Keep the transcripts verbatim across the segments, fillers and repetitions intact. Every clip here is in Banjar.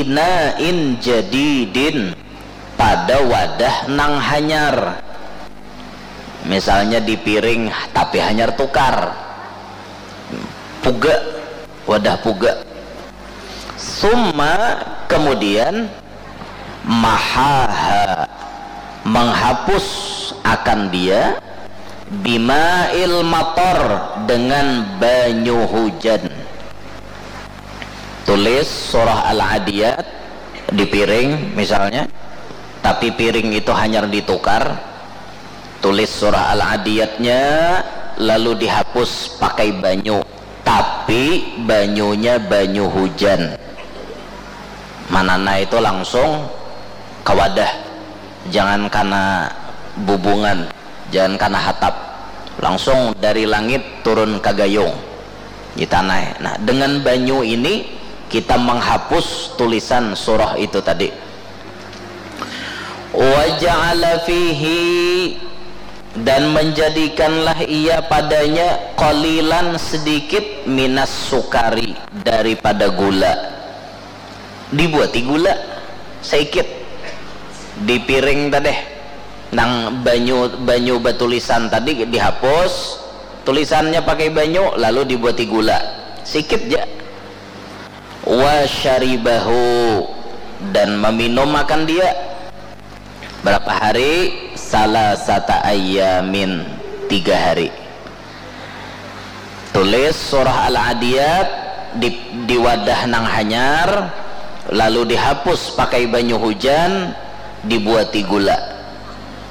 ina'in jadidin, pada wadah nang hanyar. Misalnya di piring tapi hanyar tukar. Puga, wadah puga. Summa, kemudian, mahaha, menghapus akan dia, bima'il matar, dengan banyu hujan. Tulis surah Al-Adiyat di piring misalnya, tapi piring itu hanyar ditukar. Tulis surah Al-Adiyatnya, lalu dihapus pakai banyu, tapi banyunya banyu hujan. Manana itu langsung ke wadah, jangan kana bubungan, jangan kana hatap, langsung dari langit turun ke gayung di tanah. Nah, dengan banyu ini kita menghapus tulisan surah itu tadi. Wa ja'ala fihi, dan menjadikanlah ia padanya qalilan, sedikit, minas sukari, daripada gula. Dibuati gula saikit di piring tadeh, nang banyu, banyu batulisan tadi dihapus tulisannya pakai banyu, lalu dibuati gula sikit ja. Wa syaribahu, dan meminum akan dia. Berapa hari? Salasata ayyamin, tiga hari. Tulis surah Al-Adiyat di, di wadah nang hanyar, lalu dihapus pakai banyu hujan, dibuati gula,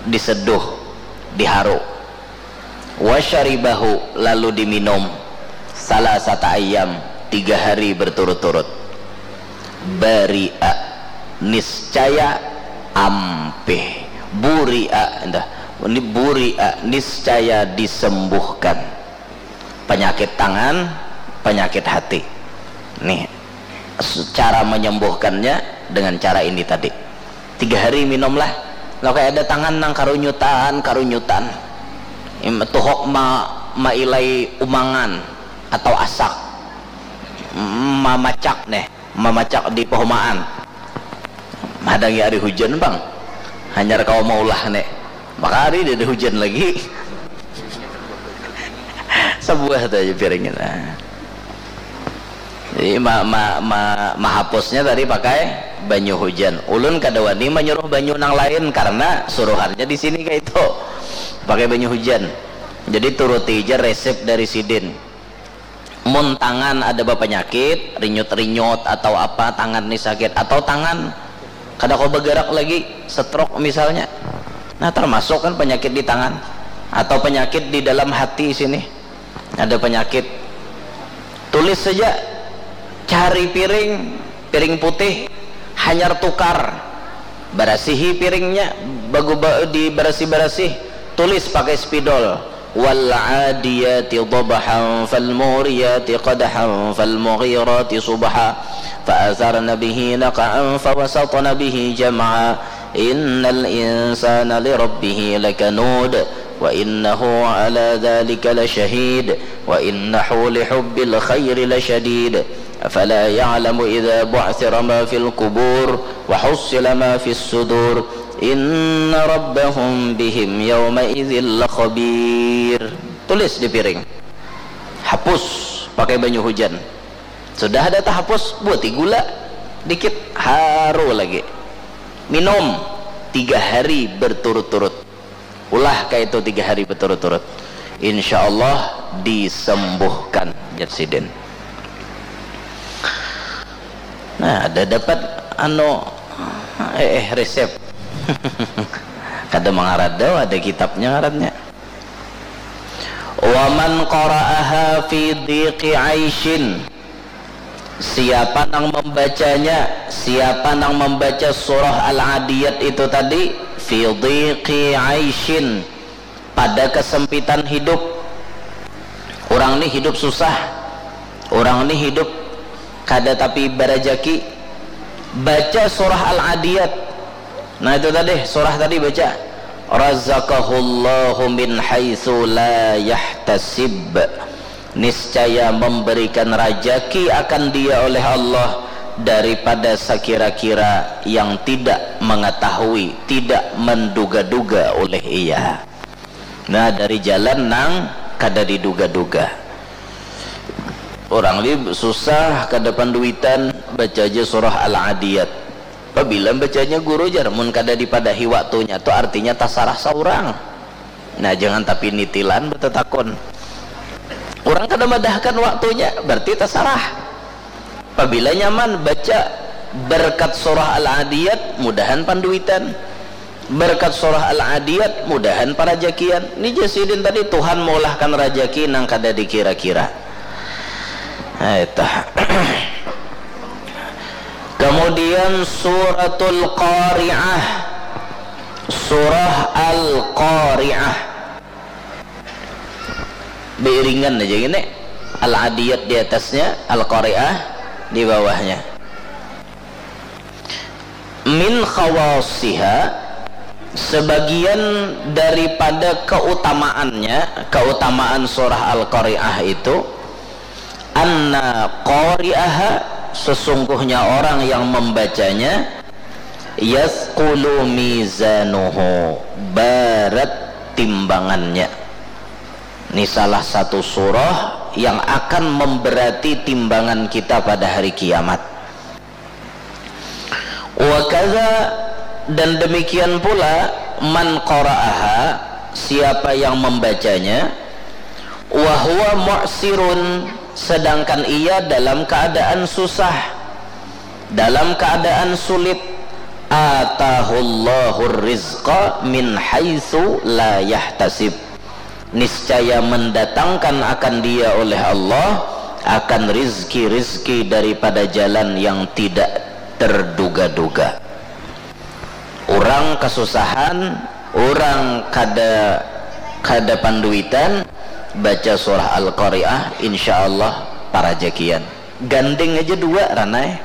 diseduh, diharu. Wa syaribahu, lalu diminum. Salasata ayyam, tiga hari berturut-turut. Bari'a, niscaya, ampih. Buri'a, entah. Ini buri'a, niscaya disembuhkan. Penyakit tangan, penyakit hati. Nih, s-, cara menyembuhkannya dengan cara ini tadi. Tiga hari minumlah. Nah, kayak ada tangan nang karunyutan, karunyutan. Im-, tuhok ma-, mailai umangan atau asak. Mamacak nih, mamacak di pohomaan. Mahadangi hari hujan, Bang. Hanyar kawa maulah nih. Maka hari dia ada hujan lagi. Sebuah tu aja piringnya. Nah. Jadi ma, ma, ma, mahapusnya tadi pakai banyu hujan. Ulun kada wani manyuruh banyu nang lain karena suruhannya di sini kayak itu. Pakai banyu hujan. Jadi turuti aja resep dari sidin. Mun tangan ada bapanyakit, rinyut-rinyut atau apa, tangan ni sakit, atau tangan kada kawa bagarak lagi, stroke misalnya. Nah, termasuk kan penyakit di tangan atau penyakit di dalam hati sini. Ada penyakit. Tulis saja, cari piring, piring putih, hanyar tukar. Barasihi piringnya, bagu-, ba-, dibarasih-barasih. Tulis pakai spidol. Wal adiyati dhabhan fal muriyati qadhan fal mughirati subha fa atharna bihi naq'an fa wasatna bihi jam'a. Innal insana li rabbih lakanud. Wa innahu ala dzalika lasyahid. Wa innahu li hubbil khairi lasyadid. Afala ya'lamu idza bu'thira ma fil qubur wa hussila ma fis sudur. Inna rabbahum bihim yawma idzin lakhabir. Tulis di piring. Hapus pakai banyu hujan. Sudah ada tahapus, buati gula dikit, haru lagi. Minum tiga hari berturut-turut. Ulah kayak itu tiga hari berturut-turut. Insya Allah disembuhkan, jar sidin. Nah, ada dapat anu, eh, eh, resep. Kada mangarada, ada kitabnya ngarannya. Wa man qara'aha fi dhiqi aisyin. Siapa nang membacanya, siapa nang membaca surah Al-Adiyat itu tadi, fi dhiqi aisyin, pada kesempitan hidup. Orang ni hidup susah, orang ni hidup kada tapi barajaki. Baca surah Al-Adiyat. Nah, itu tadi, surah tadi baca. Razaqahullahu min haitsu la yahtasib. Niscaya memberikan rajaki akan dia oleh Allah daripada sakira-kira yang tidak mengetahui, tidak menduga-duga oleh ia. Nah, dari jalan nang kada diduga-duga. Orang ni susah, kada panduitan, baca aja surah Al-Adiyat. Pabila bacanya guru jar, mun kada dipadahi waktunya tu artinya tasarah saurang. Nah, jangan tapi nitilan batatakun. Orang kada madahkan waktunya, berarti tasarah. Pabila nyaman baca berkat surah Al-Adiyat, mudahan panduitan. Berkat surah Al-Adiyat, mudahan parajakian. Ni jasidin tadi, Tuhan meulahkan rajaki nang kada dikira-kira. Nah, itu. Kemudian suratul Qari'ah. Surah Al-Qari'ah. Diiringan aja gini. Al-Adiyat di atasnya, Al-Qari'ah di bawahnya. Min khawasiha, sebagian daripada keutamaannya, keutamaan surah Al-Qari'ah itu, anna qari'aha, sesungguhnya orang yang membacanya, yathqulu mizanuhu, barat timbangannya. Ini salah satu surah yang akan memberati timbangan kita pada hari kiamat. Wa kadza, dan demikian pula, man qara'aha, siapa yang membacanya, wa huwa mu'sirun, sedangkan ia dalam keadaan susah, dalam keadaan sulit, atahullahur rizqa min haitsu la yahtasib, niscaya mendatangkan akan dia oleh Allah akan rizki-rizki daripada jalan yang tidak terduga-duga. Orang kasusahan, orang kada kada panduitan, baca surah Al-Qari'ah, insya Allah parajakian. Ganding aja dua ranai,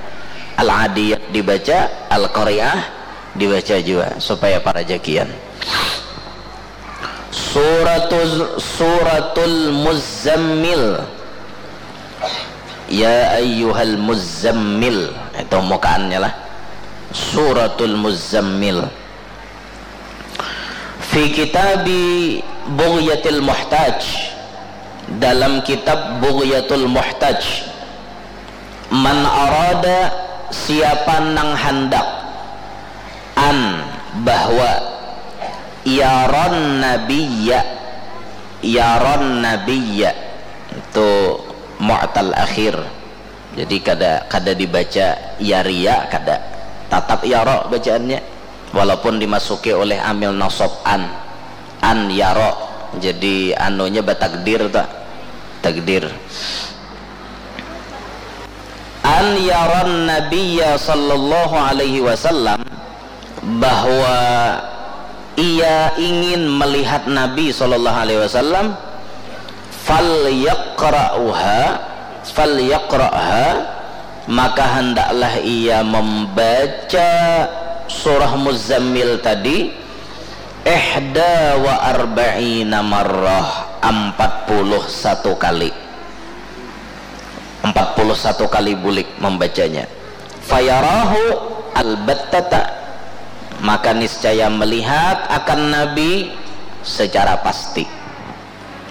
Al-Adiyat dibaca, Al-Qari'ah dibaca juga supaya parajakian. Suratul Suratul Muzammil. Ya ayyuhal muzammil, itu mukaannya lah. Suratul Muzammil. Fi kitabi Bughyatil Muhtaj, dalam kitab Bughyatul Muhtaj, man arada, siapa nang handak, an, bahwa, yaron nabiyya, yaron nabiyya, itu mu'tal akhir. Jadi kada kada dibaca yaria, kada. Tatap yaro bacaannya. Walaupun dimasuki oleh amil nasab an. An yaro. Jadi anunya batakdir tu. Takdir. An yaron nabiyya sallallahu alaihi wasallam, bahwa ia ingin melihat Nabi sallallahu alaihi wasallam, falyaqra'uha, falyaqra'ha, maka hendaklah ia membaca surah Muzammil tadi, ihda wa arba'ina marrah, empat puluh satu kali. Empat puluh satu kali bulik membacanya. Fayarahu albattata, maka niscaya melihat akan Nabi secara pasti.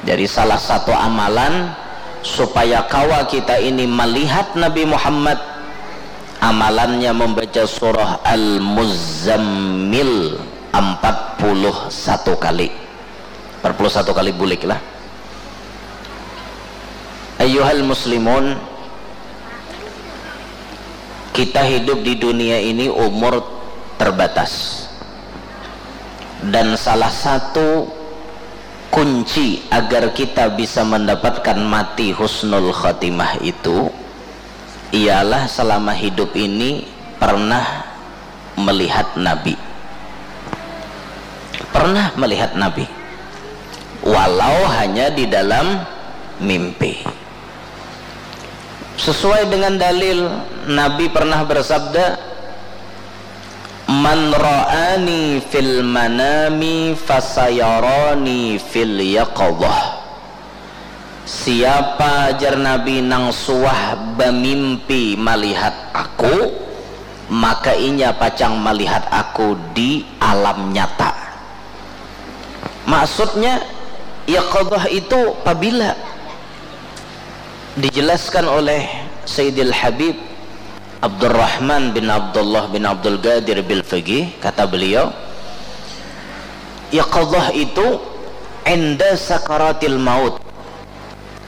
Jadi salah satu amalan supaya kawa kita ini melihat Nabi Muhammad, amalannya membaca surah Al-Muzammil empat puluh satu kali. Empat puluh satu kali bulik lah. Ayyuhal muslimun, kita hidup di dunia ini umur terbatas. Dan salah satu kunci agar kita bisa mendapatkan mati husnul khatimah itu ialah selama hidup ini pernah melihat Nabi. Pernah melihat Nabi. Walau hanya di dalam mimpi. Sesuai dengan dalil, Nabi pernah bersabda, "Man ra'ani fil manami fasayarani fil yaqadhah." Siapa, jar Nabi, nang suah bamimpi malihat aku, maka inya pacang malihat aku di alam nyata. Maksudnya, yaqadhah itu pabila? Dijelaskan oleh Sayyidil Habib Abdurrahman bin Abdullah bin Abdul Qadir Bilfaqih, kata beliau, yaqadhah itu inda sakaratil maut,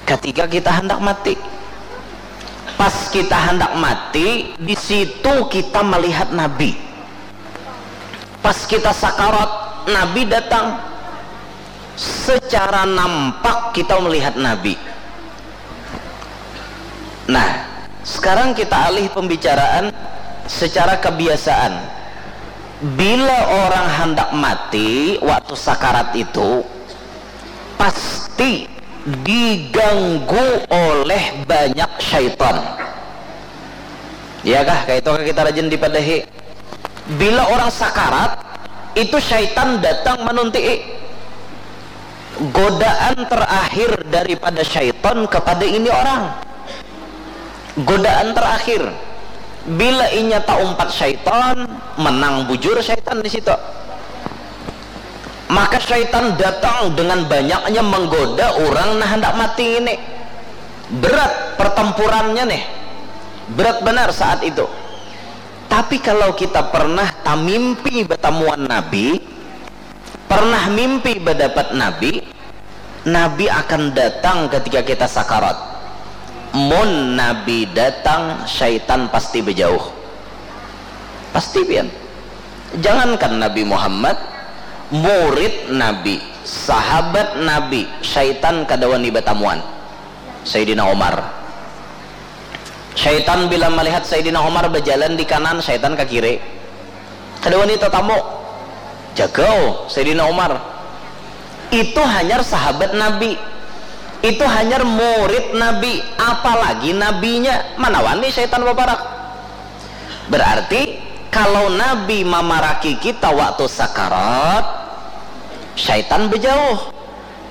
ketika kita hendak mati. Pas kita hendak mati, di situ kita melihat Nabi. Pas kita sakarat, Nabi datang. Secara nampak kita melihat Nabi. Nah, sekarang kita alih pembicaraan secara kebiasaan. Bila orang hendak mati waktu sakarat itu, pasti diganggu oleh banyak syaitan. Ya kah? Kayak itu kah kita rajin dipadahi? Bila orang sakarat, itu syaitan datang manuntii. Godaan terakhir daripada syaitan kepada ini orang. Godaan terakhir. Bila inya taumpat syaitan, menang bujur syaitan di situ. Maka syaitan datang dengan banyaknya menggoda orang nah hendak mati ini. Berat pertempurannya nih. Berat benar saat itu. Tapi kalau kita pernah tamimpi batamuan Nabi, pernah mimpi badapat Nabi, Nabi akan datang ketika kita sakarat. Mun Nabi datang, syaitan pasti bejauh. Pasti pian. Jangankan Nabi Muhammad, murid Nabi, sahabat Nabi, syaitan kada wani batamuan. Sayyidina Umar. Syaitan bila melihat Sayyidina Umar berjalan di kanan, syaitan ke kiri. Kada wani tatamu. Jagau Sayyidina Umar. Itu hanyar sahabat Nabi. Itu hanyar murid Nabi, apalagi nabinya. Mana wani syaitan baparak? Berarti kalau Nabi mamaraki kita waktu sakarat, syaitan bejauh.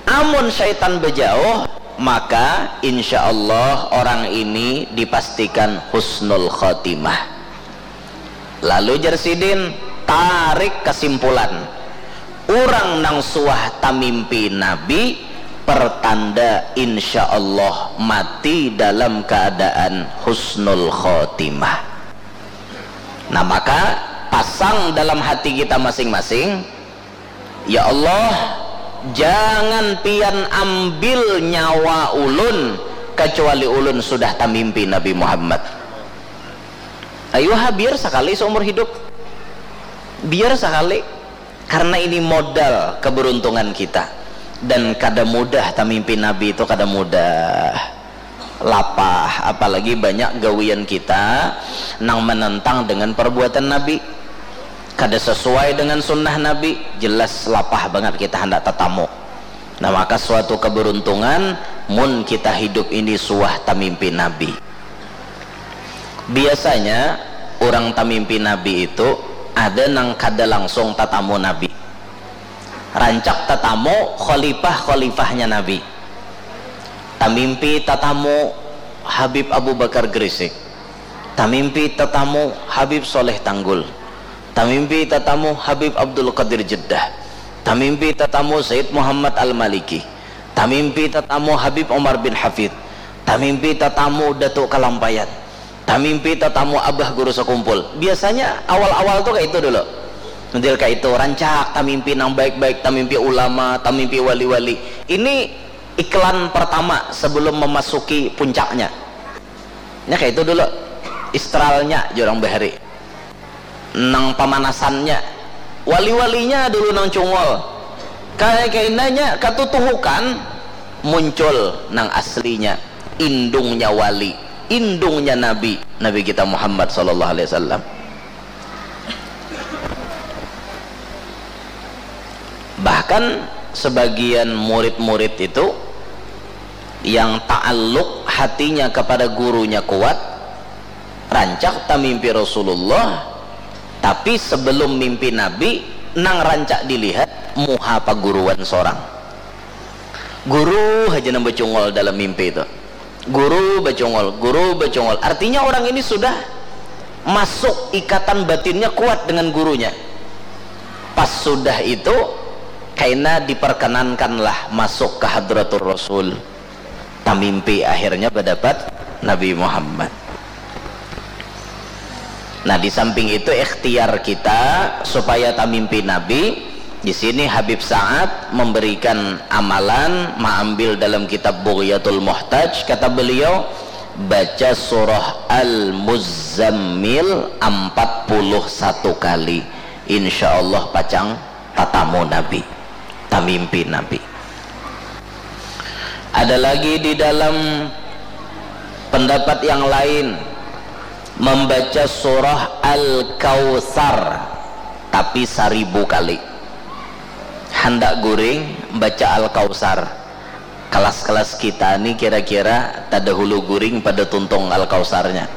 Amun syaitan bejauh, maka insya Allah orang ini dipastikan husnul khotimah. Lalu jar sidin, tarik kesimpulan, orang nang suah tamimpi Nabi, pertanda insya Allah mati dalam keadaan husnul khotimah. Nah, maka pasang dalam hati kita masing-masing, ya Allah, jangan pian ambil nyawa ulun kecuali ulun sudah tamimpi Nabi Muhammad. Ayuha, biar sekali seumur hidup. Biar sekali. Karena ini modal keberuntungan kita. Dan kada mudah tamimpi Nabi itu, kada mudah. Lapah, apalagi banyak gawian kita nang menentang dengan perbuatan Nabi. Kada sesuai dengan sunnah Nabi, jelas lapah banget kita hendak tatamu. Nah, maka suatu keberuntungan mun kita hidup ini suah tamimpi Nabi. Biasanya orang tamimpi Nabi itu ada nang kada langsung tatamu Nabi. Rancak tatamu khalifah-khalifahnya Nabi. Tamimpi tatamu Habib Abu Bakar Gresik. Tamimpi tatamu Habib Soleh Tanggul. Tamimpi tatamu Habib Abdul Qadir Jeddah. Tamimpi tatamu Sayyid Muhammad Al-Maliki. Tamimpi tatamu Habib Umar bin Hafid. Tamimpi tatamu Datuk Kalampayan. Tamimpi tatamu Abah Guru Sekumpul. Biasanya awal-awal tuh kayak itu dulu. Model kayak itu, rancak tamimpi nang baik-baik, tamimpi ulama, tamimpi wali-wali. Ini iklan pertama sebelum memasuki puncaknya. Nya kayak itu dulu. Istralnya jar urang bahari. Nang pamanasannya. Wali-walinya dulu nang cungul. Kayak kainanya katutuhukan, muncul nang aslinya, indungnya wali, indungnya Nabi, Nabi kita Muhammad sallallahu alaihi wasallam. Bahkan sebagian murid-murid itu yang ta'alluq hatinya kepada gurunya kuat, rancak tamimpi Rasulullah, tapi sebelum mimpi Nabi, nang rancak dilihat muha paguruan sorang. Guru haja nang bacungul dalam mimpi itu. Guru bacungul, guru bacungul. Artinya orang ini sudah masuk ikatan batinnya kuat dengan gurunya. Pas sudah itu, kaina diperkenankanlah masuk ke Hadratur Rasul. Tamimpi akhirnya berdapat Nabi Muhammad. Nah, di samping itu ikhtiar kita supaya tamimpi Nabi. Di sini Habib Sa'ad memberikan amalan, maambil dalam kitab Bughyatul Muhtaj, kata beliau, baca surah Al-Muzammil empat puluh satu kali. Insya Allah pacang tatamu Nabi, tamimpi Nabi. Ada lagi di dalam pendapat yang lain, membaca surah Al-Kautsar tapi saribu kali. Handak guring, baca Al-Kautsar. Kelas-kelas kita ni kira-kira tadahulu guring pada tuntung Al-Kautsarnya.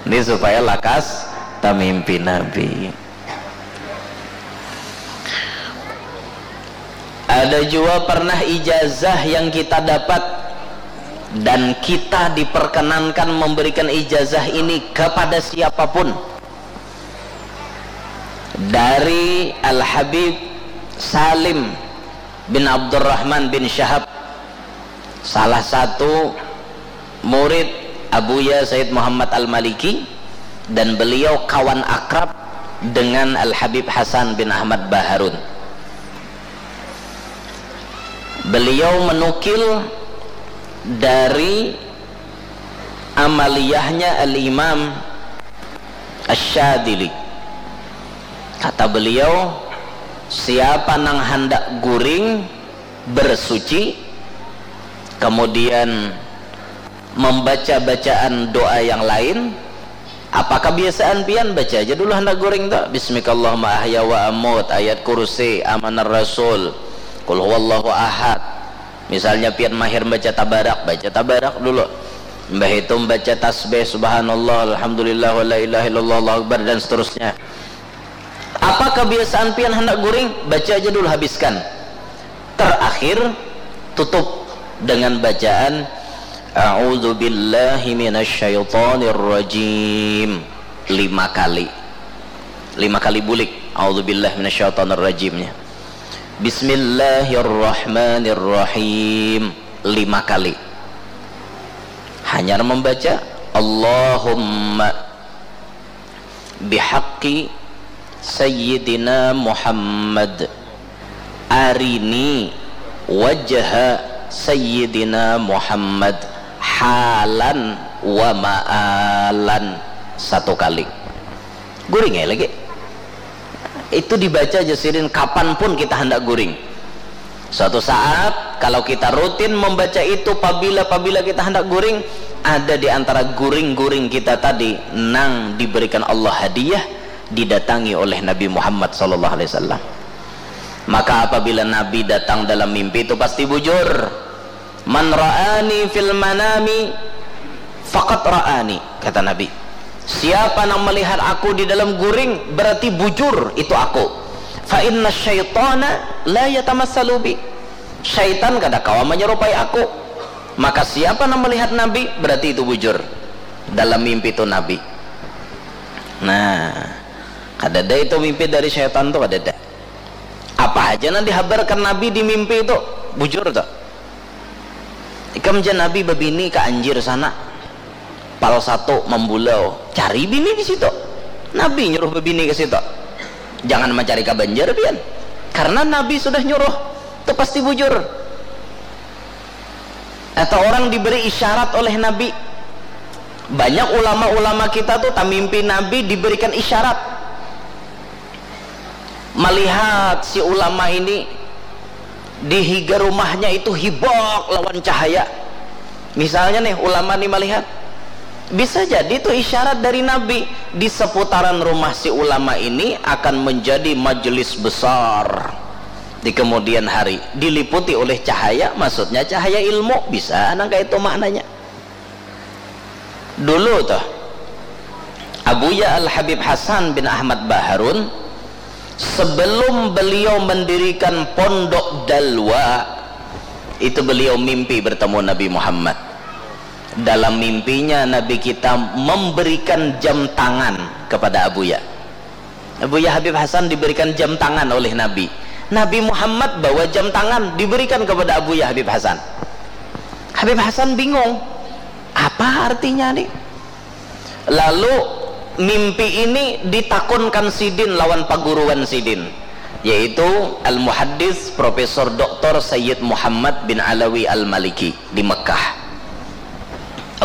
Ini supaya lakas tamimpi Nabi. Ada jua pernah ijazah yang kita dapat dan kita diperkenankan memberikan ijazah ini kepada siapapun. Dari Al-Habib Salim bin Abdurrahman bin Syahab, salah satu murid Abuya Sayyid Muhammad Al-Maliki, dan beliau kawan akrab dengan Al-Habib Hasan bin Ahmad Baharun. Beliau menukil dari amaliyahnya Al-Imam Asy-Syadzili. Kata beliau, siapa nang handak guring, bersuci, kemudian membaca bacaan doa yang lain, apa kebiasaan pian? Baca aja dulu handak guring tu, Bismikallahumma ahya wa amut, Ayat Kursi, Amanar Rasul, Qul huwallahu ahad. Misalnya pian mahir baca tabarak, baca tabarak dulu. Mbah itu membaca tasbih, subhanallah, alhamdulillah, wa la ilaha illallah, Allahu akbar, dan seterusnya. Apa kebiasaan pian handak guring? Baca aja dulu, habiskan. Terakhir, tutup dengan bacaan A'udzu billahi minasyaitonir rajim lima kali. Lima kali bulik A'udzu billahi minasyaitonir rajimnya. Bismillahirrahmanirrahim lima kali. Hanyar membaca Allahumma bihaqqi Sayyidina Muhammad, arini wajha Sayyidina Muhammad halan wa ma'alan, satu kali. Guring ai lagi. Itu dibaca aja sidin kapan pun kita handak guring. Suatu saat, kalau kita rutin membaca itu, pabila-pabila kita hendak guring, ada di antara guring-guring kita tadi nang diberikan Allah hadiah, didatangi oleh Nabi Muhammad sallallahu alaihi wasallam. Maka apabila Nabi datang dalam mimpi itu pasti bujur. "Man ra'ani fil manami faqad ra'ani," kata Nabi. "Siapa nang melihat aku di dalam guring, berarti bujur itu aku. Fa inna syaitana la yatamassalu bi." Syaitan kada kawa menyerupai aku. Maka siapa nang melihat Nabi, berarti itu bujur. Dalam mimpi itu Nabi. Nah, kadada itu mimpi dari syaitan tu, kadada. Apa haja nang dihabarkan Nabi di mimpi itu, bujur tu. Ikam ja Nabi babini ka Anjir sana. Pal satu mambulau. Cari bini di situ. Nabi nyuruh babini ke situ. Jangan mencari ka Banjar pian. Karena Nabi sudah nyuruh. Itu pasti bujur. Atau orang diberi isyarat oleh Nabi. Banyak ulama-ulama kita tuh tamimpi Nabi diberikan isyarat. Melihat si ulama ini di higa rumahnya itu hibak lawan cahaya. Misalnya nih, ulama nih melihat, bisa jadi itu isyarat dari Nabi. Di seputaran rumah si ulama ini akan menjadi majelis besar di kemudian hari, diliputi oleh cahaya, maksudnya cahaya ilmu, bisa nang kayak itu maknanya. Dulu tuh, Abuya Al Habib Hasan bin Ahmad Baharun Sebelum beliau mendirikan Pondok Dalwa, itu beliau mimpi bertemu Nabi Muhammad. Dalam mimpinya, Nabi kita memberikan jam tangan kepada Abuya. Abuya Habib Hasan diberikan jam tangan oleh Nabi. Nabi Muhammad bawa jam tangan, diberikan kepada Abuya Habib Hasan. Habib Hasan bingung, apa artinya nih? Lalu mimpi ini ditakunkan sidin lawan paguruan sidin, yaitu Al-Muhaddits Profesor Doktor Sayyid Muhammad bin Alawi Al-Maliki di Mekah.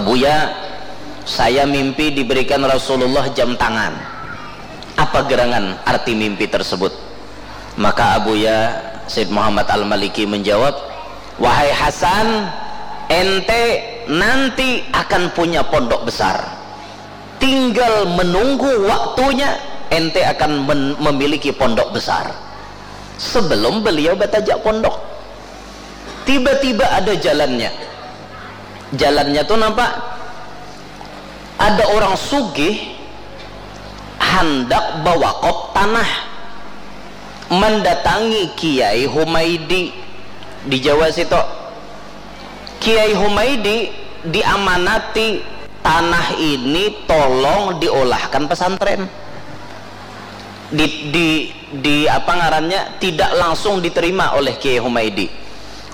"Abuya, saya mimpi diberikan Rasulullah jam tangan. Apa gerangan arti mimpi tersebut?" Maka Abuya Sayyid Muhammad Al-Maliki menjawab, "Wahai Hasan, ente nanti akan punya pondok besar. Tinggal menunggu waktunya, ente akan men-, memiliki pondok besar." Sebelum beliau batajak pondok, tiba-tiba ada jalannya. Jalannya tuh nampak ada orang sugih handak bawakop tanah, mendatangi Kiai Humaidi di Jawa situ. Kiai Humaidi diamanati tanah ini tolong diolahkan pesantren. Di, di, di apa ngarannya, tidak langsung diterima oleh Kiai Humaidi.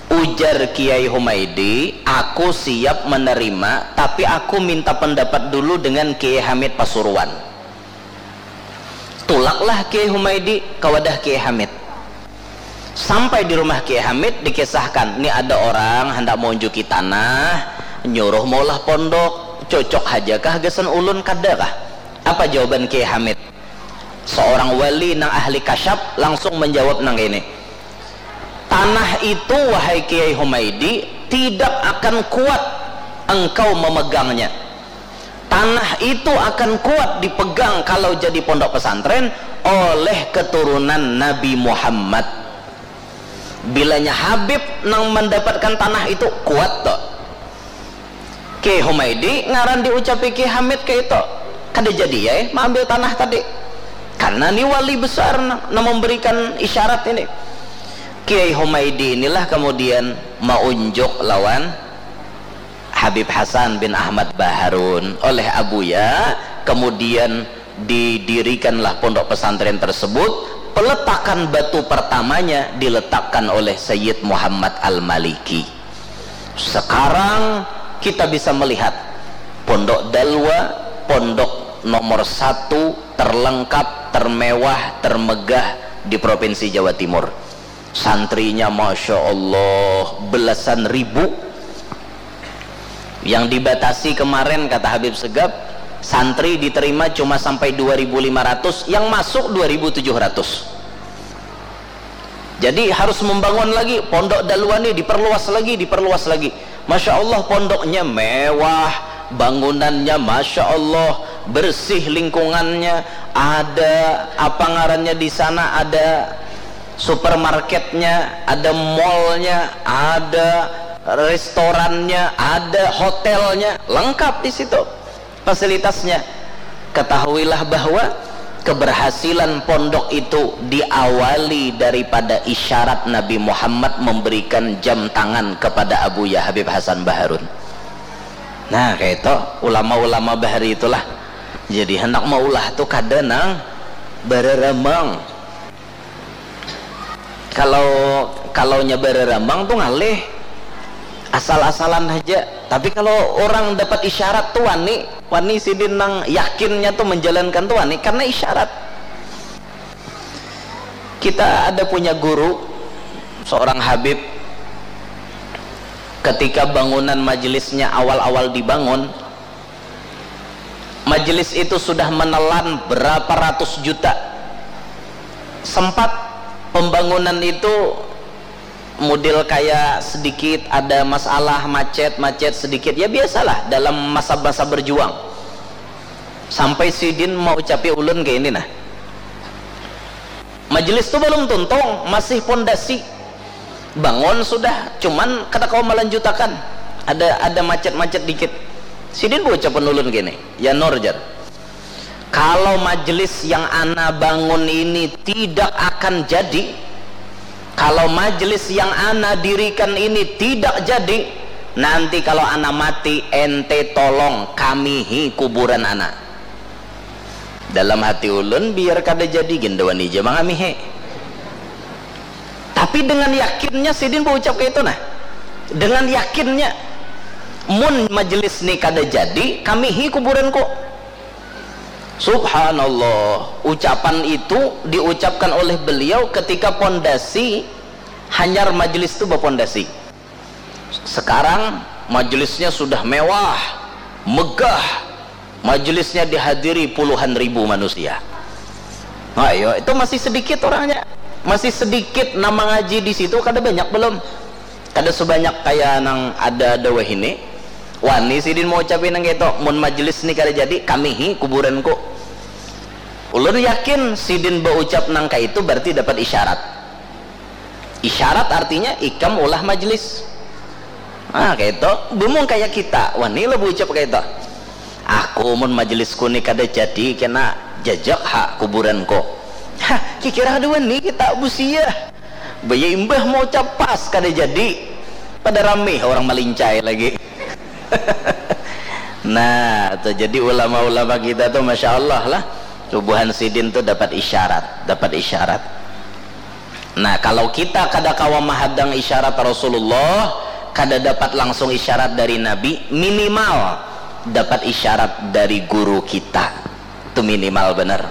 Ujar Kiai Humaidi, "Aku siap menerima, tapi aku minta pendapat dulu dengan Kiai Hamid Pasuruan." Tulaklah Kiai Humaidi ke wadah Kiai Hamid. Sampai di rumah Kiai Hamid, dikisahkan, "Ni ada orang handak maunjuki tanah, nyuruh maulah pondok, cocok haja kah gasan ulun, kada kah?" Apa jawaban Kiai Hamid? Seorang wali nang ahli kasyaf langsung menjawab nang ini, "Tanah itu, wahai Kiai Humaidi, tidak akan kuat engkau memegangnya. Tanah itu akan kuat dipegang kalau jadi pondok pesantren oleh keturunan Nabi Muhammad." Bilanya Habib nang mendapatkan tanah itu, kuat tuh. Kiai Humaidi ngaran diucapi Kiai Hamid kayak itu. Kada jadi ya, eh, maambil tanah tadi. Karena ni wali besar nang, nang memberikan isyarat ini. Kiai Humaidi inilah kemudian maunjuk lawan Habib Hasan bin Ahmad Baharun oleh Abuya, kemudian didirikanlah pondok pesantren tersebut. Peletakan batu pertamanya diletakkan oleh Sayyid Muhammad Al-Maliki. Sekarang kita bisa melihat Pondok Dalwa, pondok nomor satu, terlengkap, termewah, termegah di Provinsi Jawa Timur. Santrinya, Masya Allah, belasan ribu. Yang dibatasi kemarin, kata Habib Segaf, santri diterima cuma sampai dua ribu lima ratus, yang masuk dua ribu tujuh ratus. Jadi harus membangun lagi, Pondok Dalwa ni diperluas lagi, diperluas lagi. Masya Allah, pondoknya mewah, bangunannya Masya Allah, bersih lingkungannya, ada apa ngarannya di sana, ada supermarketnya, ada mallnya, ada restorannya, ada hotelnya, lengkap di situ fasilitasnya. Ketahuilah bahwa keberhasilan pondok itu diawali daripada isyarat Nabi Muhammad memberikan jam tangan kepada Abuya Habib Hasan Baharun. Nah, kayak itu, ulama-ulama bahari itulah. Jadi, hendak maulah tu kada nang bararamang. Kalau, kalau nya bararamang tu ngalih, asal-asalan haja. Tapi kalau orang dapat isyarat tu wani, wani sidin nang yakinnya tu menjalankan tu wani karena isyarat. Kita ada punya guru, seorang Habib, ketika bangunan majelisnya awal-awal dibangun, majelis itu sudah menelan berapa ratus juta. Sempat pembangunan itu mudil kayak sedikit ada masalah, macet, macet sedikit. Ya, biasalah dalam masa-masa berjuang. Sampai sidin mau ucapi ulun kayak ini, nah. Majelis tu belum tuntung, masih pondasi. Bangun sudah, cuman kada kawa melanjutakan. Ada, ada macet-macet dikit. Sidin baucapan ulun gini, "Ya Nur," jar, Kalau majelis yang ana bangun ini tidak akan jadi, kalau majelis yang ana dirikan ini tidak jadi, nanti kalau ana mati, ente tolong kamihi kuburan ana. Dalam hati ulun, biar kada jadi gin da wani ja mangamihi. Tapi dengan yakinnya sidin baucap kaitu nah. Dengan yakinnya, mun majelis ni kada jadi, kamihi kuburanku. Subhanallah, ucapan itu diucapkan oleh beliau ketika pondasi hanyar majelis tu bapondasi. Sekarang majelisnya sudah mewah, megah, majelisnya dihadiri puluhan ribu manusia. Nah, ayo, itu masih sedikit orangnya, masih sedikit nama ngaji di situ, kada banyak belum, kada sebanyak kaya nang ada ada wahini. Wani sidin mau ucapin nang itu, mun majelis ni kada jadi, kamihi kuburanku. Ulun yakin sidin baucap nang kaitu berarti dapat isyarat. Isyarat artinya ikam ulah majelis. Nah, kaitu. Bumung kaya kita, wani lah baucap kaitu. Aku mun majelisku ni kada jadi kena jajak ha kuburanku. Hah, kikira kada wani kita busia. Baya imbah mau capas kada jadi. Pada rami orang malincai lagi. Nah, tuh jadi ulama-ulama kita tuh masya Allah lah. Tubuhan sidin tuh dapat isyarat, dapat isyarat. Nah, kalau kita kada kawa mahadang isyarat Rasulullah, kada dapat langsung isyarat dari Nabi, minimal dapat isyarat dari guru kita. Itu minimal benar.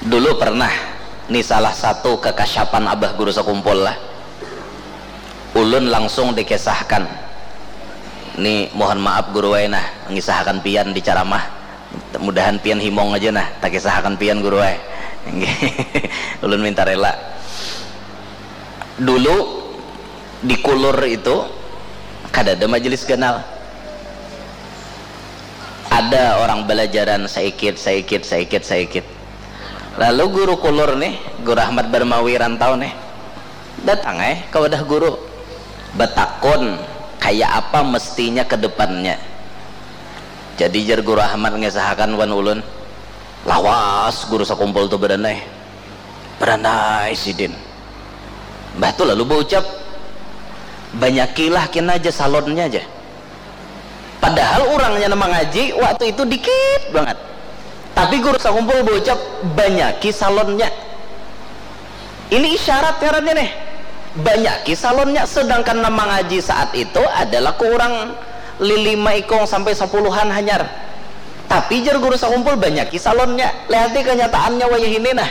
Dulu pernah, ni salah satu kekasyapan Abah Guru Sakumpul lah. Ulun langsung dikisahkan. Ni mohon maaf guru ai nah, ngisahkan pian di ceramah. Mudahan pian himong aja nah, takisahakan pian guru ai. Ulun minta rela. Dulu di Kulur itu kada ada majelis ganal. Ada orang belajaran saikit, saikit, saikit, saikit. Lalu guru Kulur nih, Guru Ahmad Barmawi Rantau nih, datang eh ke wadah guru, batakun kaya apa mestinya ke depannya. Jadi jar Guru Ahmad ngesahakan wan ulun, lawas Guru Sakumpul tu badanai, badanai sidin. Mbah tu lalu baucap, banyakilah kena aja salonnya aja. Padahal urangnya nang mangaji waktu itu dikit bangat. Tapi Guru Sakumpul baucap, banyaki salonnya. Ini isyarat ngarannya nih. Banyaki salonnya, sedangkan nang mangaji saat itu adalah kurang lima ikung sampai sapuluhan hanyar. Tapi jar Guru Sakumpul, banyaki salonnya. Lihati kenyataannya wayah ini nah.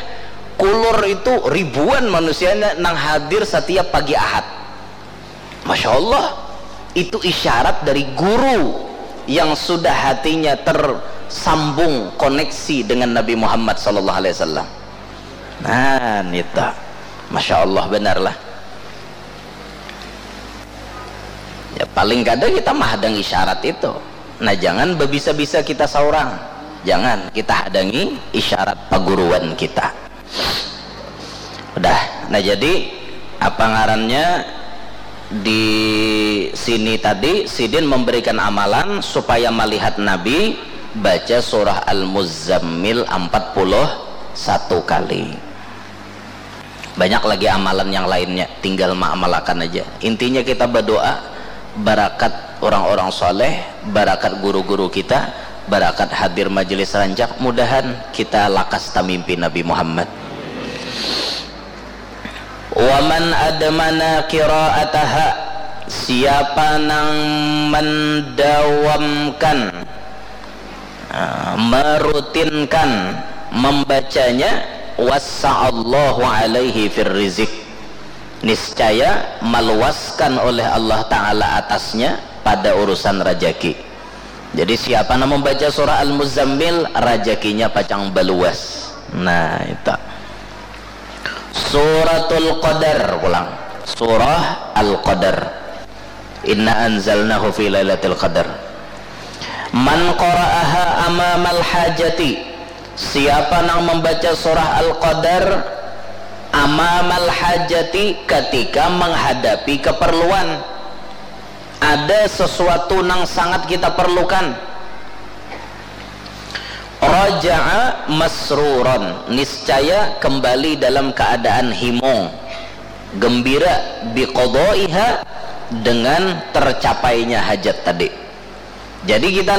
Kulur itu ribuan manusianya nang hadir setiap pagi Ahad. Masya Allah, itu isyarat dari guru yang sudah hatinya tersambung koneksi dengan Nabi Muhammad sallallahu alaihi wasallam. Nah, nita. Masya Allah, benarlah. Ya, paling kada kita mahadang isyarat itu. Nah, jangan bebisa-bisa kita seorang. Jangan, kita hadangi isyarat paguruan kita. Udah. Nah, jadi apa ngarannya di sini tadi, sidin memberikan amalan supaya melihat Nabi baca surah Al-Muzammil empat puluh satu kali. Banyak lagi amalan yang lainnya, tinggal maamalakan aja. Intinya kita berdoa, barakat orang-orang soleh, barakat guru-guru kita, barakat hadir majelis rancak, mudahan kita lakas tamimpi Nabi Muhammad. Waman admana qiraataha, siapa nang mendawamkan, ah, merutinkan membacanya, wassa'allahu alaihi fir rizq, niscaya meluaskan oleh Allah Ta'ala atasnya pada urusan rajaki. Jadi siapa nang membaca surah Al-Muzammil, rajakinya pacang baluas. Nah, itu. Suratul Qadar pulang. Surah Al-Qadar. Inna anzalnahu fi lailatul qadar. Man qara'aha amamal hajati, siapa nang membaca surah Al-Qadar amamal hajati, ketika menghadapi keperluan. ada sesuatu nang sangat kita perlukan. Raja'a masruran, niscaya kembali dalam keadaan himung, gembira, biqadaiha, dengan tercapainya hajat tadi. Jadi kita